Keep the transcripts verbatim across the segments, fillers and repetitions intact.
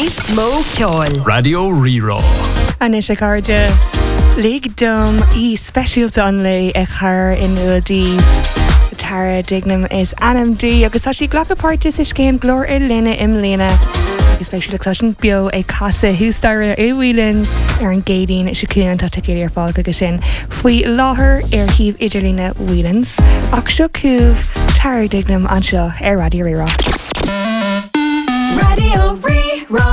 Níos mó ceoil. Raidió Rí-Rá. Anois a chairde lig dom aoi speisialta an lae a chur in iúl daoibh. Tara Dignam is ainm di agus tá sí ag glacadh páirte sa scéim Glór i Line i mbliana. Agus beidh sí le cloisint beo ag casadh thuas staighre i Whelan's ar an gCéadaoin seo chugainn tá ticéid ar fáil chuige sin faoi láthair ar shuíomh idirlíne Whelan's ach seo chugaibh Tara Dignam anseo ar Raidió Rí-Rá. Raidió Rí-Rá.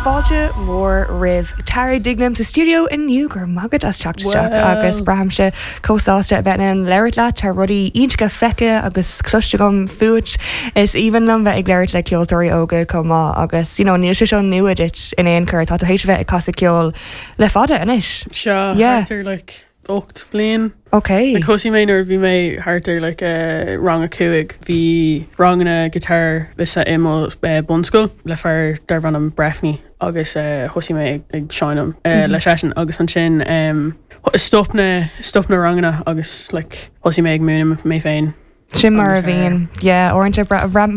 Fáilte mhór roimh Tara Dignam sa stiúideo inniu go raibh maith agat as teacht isteach agus braithimse chomh sásta a bheith in ann labhairt leat tá rudaí iontacha feicthe agus cloiste agam fút is aoibhinn liom bheith ag labhairt le ceoltóirí óga chomh maith agus you know, níl sé seo nua duit in aon chor tá tú théis bheith ag casadh ceoil le fada anois. Seo Yeah. thart ar like ocht bliain. Ok. Like thosaigh mé nuair bhí mé thart ar like uh, rang a cúig bhí ranganna guitar sa i mo uh, bunscoil le fear darbh ainm Breffney agus uh, thosaigh mé ag, ag seinm uh, mm -hmm. le seisean agus ansin um, stop na stop na ranganna agus like thosaigh mé ag múineadh mé féin. Sin mar a Agus, uh, bhíonn uaireanta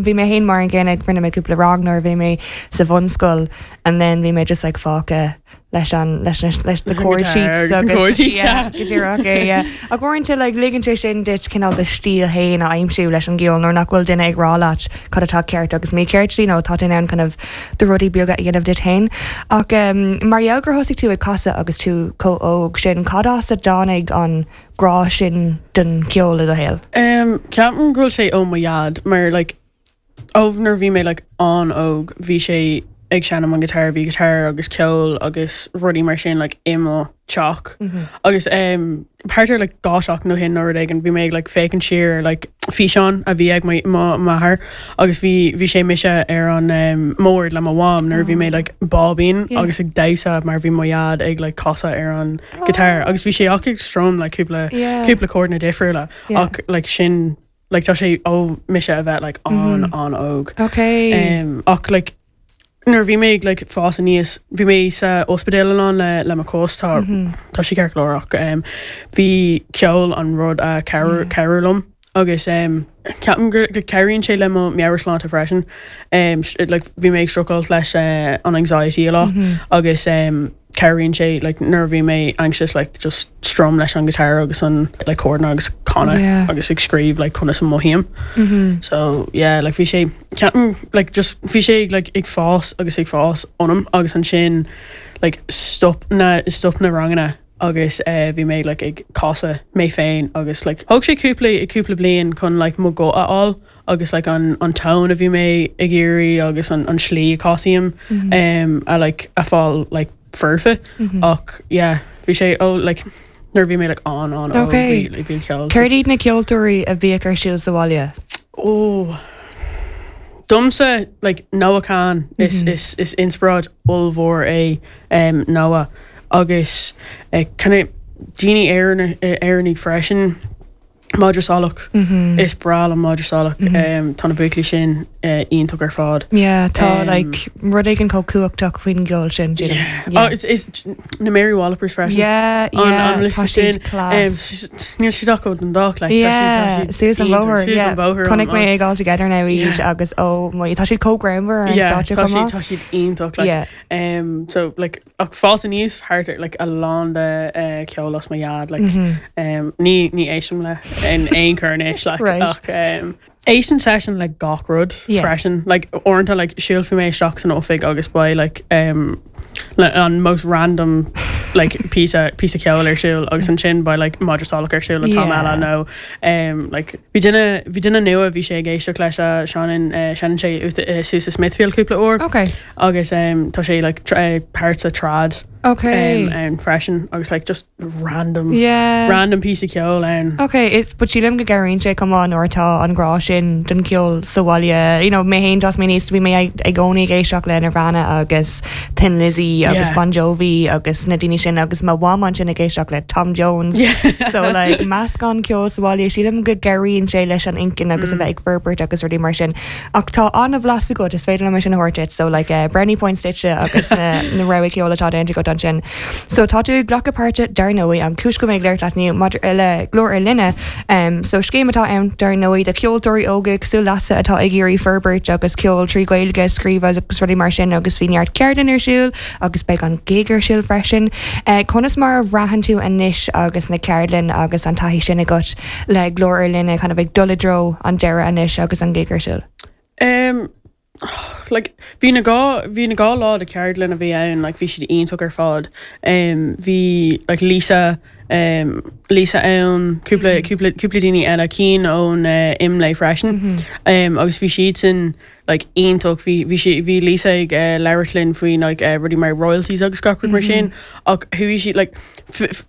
bhí mé féin mar an gcéanna rinne mé cúpla rang nuair bhí mé sa bhunscoil and then bhí mé just like fágtha leis an leis leis leis the chord sheets agus chord sheets, yeah. go díreach é, yeah. Ach uaireanta like ligeann sé sin duit cineál do stíl féin a aimsiú leis an gceol nuair nach bhfuil duine ag rá leat cad atá ceart agus mícheart you know, tá tú in ann kind of do rudaí beaga a dhéanamh duit féin. Ach um, mar gheall gur thosaigh tú ag casadh agus tú chomh óg sin cad as a dtáinig an grá sin don ceol i do shaol. Um, Ceapaim go bhfuil sé ó mo dhaid mar like ó nuair bhí mé like an-óg bhí sé ag seinm an guitar bhí guitar agus ceol agus rudaí mar sin like i mo teach agus um, thart ar like dhá seachtain ó shin nó rud éigin bhí mé ag like féachaint siar like físeán a bhí ag m'athair agus bhí bhí sé mise ar an um, mbord le mo mham nuair bhí mé like báibín Yeah. agus ag damhsa mar bhí mo dhaid ag like casadh ar an guitar agus bhí sé ach ag strum like cúpla Yeah. cúpla chordanna difriúla Yeah. ach like sin like tá sé ó mise a bheith like an an-óg. Okay. Um, ach like nuair bhí mé like fás aníos bhí mé sa ospidéal an le le mo chos tá tá sé ceart go leor ach um, bhí ceol an rud a cabhair cabhair liom agus um, ceapaim gur go cabhraíonn sé le mo meabhairshláinte freisin um, like bhí mé ag struggle leis uh, an anxiety a lot agus um, cabhraíonn sé like nuair bhí mé anxious like just strum leis an guitar agus an like chordanna agus canadh Yeah. agus ag scríobh like conas a mothaím. So yeah, like bhí sé ceapaim like just bhí sé like ag fás agus ag fás ionam agus ansin like stop na stop na ranganna agus uh, bhí mé like ag casadh mé féin agus like thóg sé cúpla cúpla bliain chun like mo ghuth a fháil agus like an an tone a bhí mé ag iarraidh agus an an slí a chasaim um, a like a fáil like foirfe ach yeah bhí sé ó like nuair bhí mé like an an ó Okay. bhí bhí ceol Céard iad na ceoltóirí a bhíodh ar siúl sa bhaile? Oh. Domsa like Noah Kahan is is is inspioráid ollmhór é um, Noah agus uh, kind of daoine Éireann Éireannaigh freisin Madra Salach is breá liom Madra Salach um, tá na buachaillí sin uh, iontach ar fad. Yeah, tá Um, like rud éigin chomh cumhachtach faoin gceol sin. Yeah. Oh, is is na Mary Wallopers freisin. Yeah, An- yeah, an liosta tá siad sin, class. Um, níl siad ach ó Dundalk like, Yeah, suas an bóthar, yeah. Chonaic Chonaic mé ag All Together Now iad Yeah. agus ó mo tá siad chomh greannmhar ar an Yeah, stáitse tá chomh siad maith. tá siad iontach like, Yeah. um so like ach fás aníos thart ar like a lán de uh, ceol as mo dhaid like Mm-hmm. um ní ní éistim le in aon chor anois like Right. ach um éistim seisean le gach rud Yeah. freisin like uaireanta like siúlfaidh mé isteach san oifig agus beidh like um le, an most random like piece piece ceol ar siúl agus ansin beidh like Madra Salach ar siúl an t-am Yeah. eile nó um like bhí duine bhí duine nua bhí sé ag éisteacht leis a seinneann uh, seinneann sé uh, suas i Smithfield cúpla uair Okay. agus um, tá sé like tra uh, part sa trad Okay. um, um, freisin agus like just random Yeah. random piece of ceol ann Okay, it's but sílim go gcabhraíonn sé chomh maith nuair atá an grá sin don ceol sa bhaile. You know, mé féin d'fhás mé aníos bhí mé ag i gcónaí ag éisteacht le Nirvana agus Thin Lizzy agus Yeah. Bon Jovi agus na daoine sin agus mo mham ansin ag éisteacht le Tom Jones. Yeah. So like meascán ceol sa bhaile sílim go gcabhraíonn sé leis an intinn agus a bheith ag forbairt agus rudaí mar sin. Ach tá an-bhlas agat is féidir liom sin a thabhairt duit, so like uh, brownie points duitse agus na, na rogha ceol atá déanta agat ansin. So tá tú ag glacadh páirte dar ndóigh an cúis go mbeidh léir leat inniu maidir le Glór ar Line um, so scéim atá ann dar ndóigh do cheoltóirí óga cosúil leatsa atá ag iarraidh forbairt agus ceol trí Ghaeilge scríobh agus rudaí mar sin agus bhí neart ceardlann ar siúl agus beidh an gig ar siúl freisin. Uh, conas mar a bhraitheann tú anois agus na ceardlanna agus an taithí sin agat le Glór ar Line kind of ag dul i dtreo an deireadh anois agus an gig ar siúl. Um, like bhí na dhá bhí na dhá lá de ceardlann a bhí ann like bhí siad iontach ar fad um, bhí like Lisa um, Lisa ann cúpla cúpla cúpla daoine eile cinn ón uh, IMLÉ freisin mm -hmm. um, agus bhí siad sin like iontach bhí bhí sí bhí Lisa ag uh, labhairt linn faoi like uh, rudaí mar royalties agus gach rud mar sin ach chuaigh sí like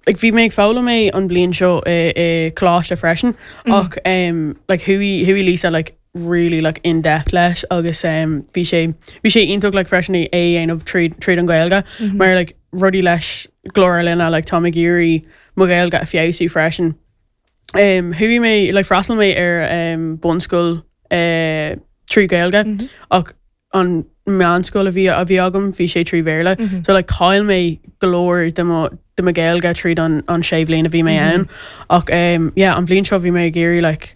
like bhí mé ag foghlaim é an bliain seo i i coláiste freisin ach um, like chuaigh chuaigh Lisa like really like in depth leis agus um, bhí sé bhí sé iontach like freisin é a dhéanamh tríd tríd an Gaeilge mm -hmm. mar like rudaí leis Glór Line like tá ag iarraidh mo Ghaeilge a fheabhsú freisin. Um, chuaigh mé like freastal mé ar um, bunscoil uh, trí Gaeilge mm -hmm. ach an meánscoil a bhí a bhí agam bhí sé trí Bhéarla mm -hmm. so like chaill mé go leor de mo de mo Ghaeilge tríd an an sé bhliain a bhí mé ann ach um, yeah, an bhliain seo bhí mé ag iarraidh like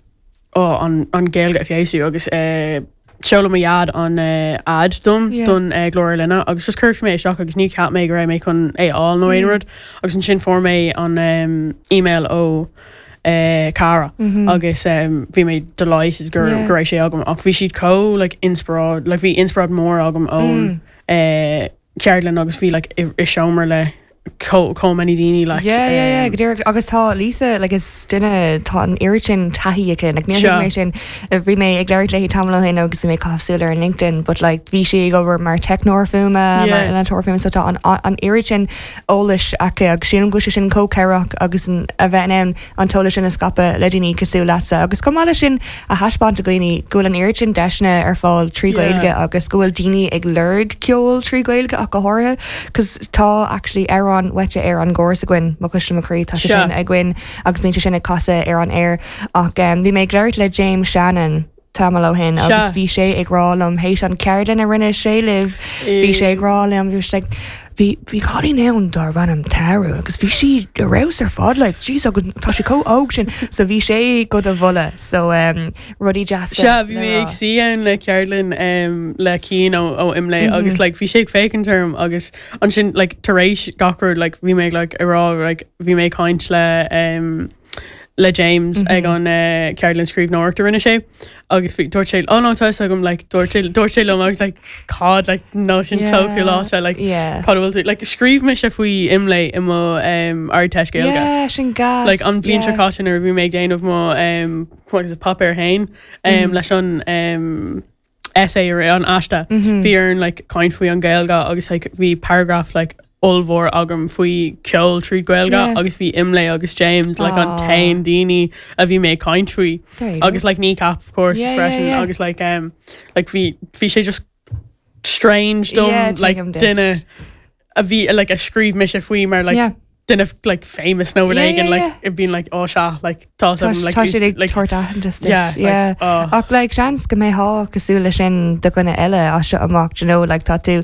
oh, an, an Gaeilge a fheabhsú agus uh, sheol mo dhaid an uh, ad dom Yeah. don uh, Glór Line agus just chuir mé isteach agus ní cheap mé go raibh mé chun é fháil nó aon rud agus ansin fuair mé an um, email ó uh, Cara mm -hmm. agus um, bhí mé delighted gur Yeah. go raibh sé agam ach bhí siad chomh like inspioráid like bhí inspioráid mór agam ón mm. uh, ceardlann agus bhí like i, i seomra le chomh many daoine like Yeah, yeah, yeah, um, go díreach agus tá Lisa like is duine tá an oiread sin taithí aici like níor Sure. thuig mé sin uh, bhí mé ag labhairt léi tamall ó shin agus bhí mé cosúil ar an LinkedIn but like bhí sí ag obair mar teicneoir fuaime mar Yeah. innealtóir fuaime so tá an an oiread sin eolais aici agus sílim go bhfuil sé sin chomh cabhrach agus an- a bheith in ann an t-eolas sin a scaipeadh le daoine cosúil leatsa agus chomh maith leis sin a thaispeáint do dhaoine go bhfuil an oiread sin deiseanna ar fáil trí Yeah. Gaeilge agus go bhfuil daoine ag lorg ceol trí Gaeilge ach go háirithe cos tá actually amhrán uait ar an gcóras againn Mo Chuisle Mo Chroí tá sé Sure. sin againn agus bíonn sé sin ag casadh ar an air ach um, bhí mé ag labhairt le James Shannon tamall ó shin agus Sure. bhí sé ag rá liom théis an ceardlann a rinne sé libh bhí sé ag rá liom just like bhí bhí cailín ann darbh ainm Tara agus bhí sí ar fheabhas ar fad like jeez agus tá sí chomh óg sin so bhí sé go do mholadh so um, rudaí deasa Sea bhí le mé rá. ag suí ann le ceardlann um, le Cian ó ó IMLÉ mm -hmm. agus like, bhí sé ag féachaint orm agus ansin like, tar éis gach rud like, bhí mé like, ag rá like, bhí mé ag caint le um, le James mm -hmm. ag an uh, ceardlann scríbhneoireachta a rinne sé agus bhí dúirt sé oh no tá agam like dúirt sé dúirt sé liom agus like cad like no sin so Yeah. cool like Yeah. cad bhfuil tú like scríobh mise faoi IMLÉ i mo um, Ardteist Gaeilge. Yeah, sin gas. like an bhliain seo yeah. caite nuair a bhí mé ag déanamh mo um, what is it, páipéar féin um, mm. leis an um, essay ar an aiste mm -hmm. bhí orm like caint faoi an Gaeilge agus like, bhí paragraph like ollmhór agam faoi ceol trí Gaeilge Yeah. agus bhí IMLÉ agus James like an Aw. t-aon daoine a bhí mé ag caint faoi There you go. agus like Kneecap of course Yeah, yeah, freisin yeah. agus like um like bhí bhí sé just strange dom Yeah, like tuigim duit. duine a bhí like a scríobh mise faoi mar like Yeah. duine like famous nó Yeah, éigin yeah, like yeah. it been like oh sea like tá Tá like tá siad ag like tabhairt aitheantas duit. Yeah, it's like, yeah. oh. Ach like seans go mbeidh cosúil leis sin do dhuine eile as seo amach you know, like tá tú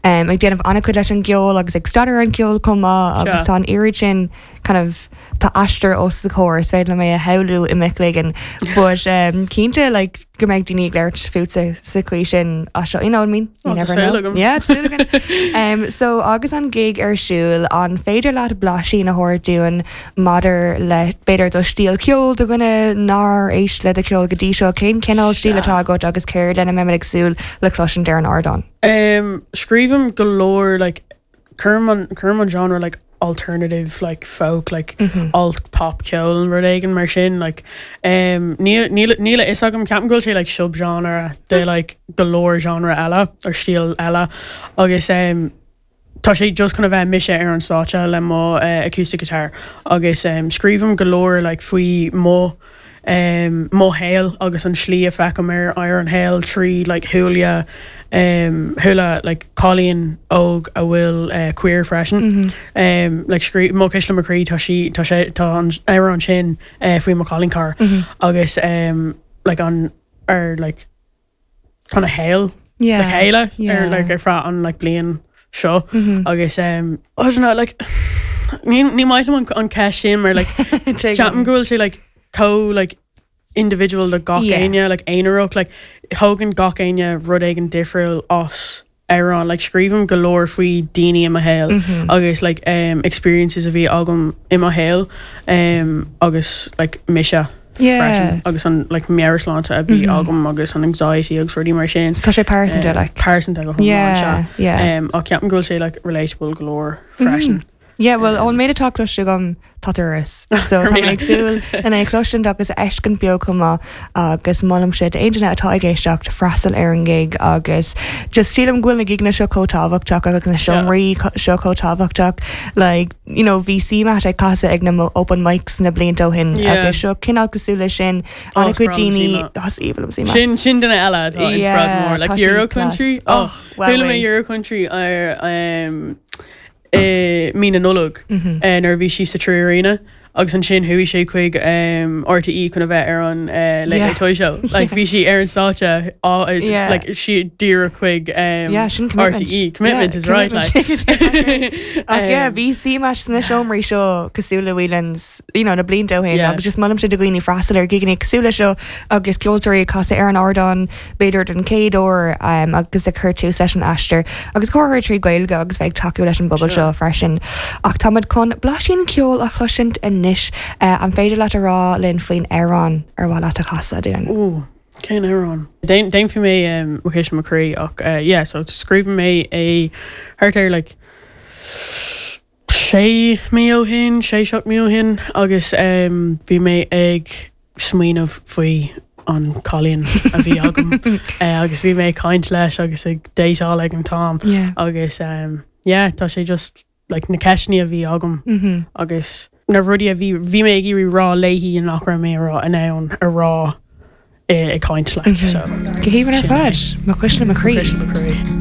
um, ag déanamh an-chuid leis an gceol agus ag staidéar an ceol chomh maith agus Sure. tá an oiread sin kind of tá aistear os do chomhair is féidir mé a shamhlú i mo chloigeann but um, cinnte like go mbeidh daoine ag labhairt fút sa chaoi sin as seo you know what I mean? You Oh, tá never súil know. agam. Yeah, tá súil agam. um, so agus an gig ar siúl an féidir leat blaisín a thabhairt dúinn maidir le b'fhéidir do stíl ceoil do dhuine nár éist le do cheol go dtí seo cén cineál stíl atá agat agus céard lena mbeimid ag súil le cloisint ar an ardán. Um, scríobhaim go leor like cuirim an cuirim an genre like alternative like folk like mm -hmm. alt pop ceol an rud éigin mar sin like um níl níl níl a fhios agam ceapaim go bhfuil sé like subgenre de like go leor genre eile or stíl eile agus um Tá sé just chun a bheith mise ar an stáitse le mo uh, acoustic guitar agus um, scríobhaim go leor like faoi mo um, mo shaol agus an slí a feicim ar ar an shaol trí like shúile um, shúile like cailín óg a bhfuil uh, queer freisin mm -hmm. um, like scrí Mo Chuisle Mo Chroí tá sí tá sé tá an amhrán sin uh, faoi mo cailín cara mm -hmm. agus um, like an ar like kind of shaol Yeah. le chéile yeah. ar like ar feadh an like bliain seo agus um, I don't know, like ní ní maith liom an an ceist sin mar like ceapaim go bhfuil sé like chomh like individual le gach Yeah. éinne like aonarach like thógann gach éinne rud éigin difriúil as amhrán like scríobhaim go leor faoi daoine i mo shaol agus like um, experiences a bhí agam i mo shaol um, agus like mise Yeah. freisin agus an like meabhairshláinte a bhí agam agus an anxiety agus rudaí mar sin Tá sé pearsanta Um, like. pearsanta go Yeah, yeah. um, ach ceapaim go bhfuil sé like relatable go leor freisin. Yeah, well ón méid atá cloiste agam tá turas. So tá mé ag súil lena chloisint agus fheiscint beo chomh maith agus molaim sé d'aon duine atá ag éisteacht freastal ar an gig agus just sílim go bhfuil na gigeanna seo chomh tábhachtach agus na seomraí seo chomh tábhachtach like you know bhí CMAT ag casadh ag na mo- open mics na blianta ó shin Yeah. agus seo cineál cosúil leis sin Oh, an chuid is breá liom daoine CMAT. Is aoibhinn liom CMAT. Sin sin duine eile atá inspired Yeah, mór like tá sí Euro class. country Oh, well Chuala mé way. Euro country ar um, i mí na Nollag Mhm. eh, nuair a bhí sí sa Three Arena agus ansin chuaigh sé chuig um, RTE chun a bheith ar an uh, Late Yeah. Late Toy Show like bhí sí ar an stáitse á- uh, Yeah. like sí díreach chuig um, Yeah, sin commitment. RTE commitment Yeah, is right like commitment. Ach yeah, Um, bhí CMAT sna seomraí seo cosúil le Whelan's you know, na blianta ó shin Yeah. agus just molaim sé do dhaoine freastal ar gigeanna cosúil le seo agus ceoltóirí ag casadh ar an ardán b'fhéidir den chéad uair um, agus ag cur tús leis an aistear agus cóir trí Ghaeilge agus bheith tacú leis an bpobal Sure. seo freisin. Ach táimid chun blaisín ceoil a chloisint anois uh, an féidir leat a rá linn faoin amhrán ar mhaith leat a chasadh dúinn. Ooh, cén amhrán. Déanfaidh mé um, mo chuisle mo chroí ach uh, yeah, so scríobh mé é thart ar like sé mí ó shin, sé seacht mí ó shin agus um, bhí mé ag smaoineamh faoi an cailín a bhí agam uh, agus bhí mé ag caint leis agus ag déiseáil ag an t-am Yeah. agus um, yeah, tá sé just like, na ceisteanna a bhí agam Mm -hmm. agus na rudaí a bhí bhí mé ag iarraidh rá léi nach raibh mé rá in ann a rá eh, ag caint le so Go haoibhinn ar Sin fad, mo chuisle mo chroí. Cuisle mo chroí.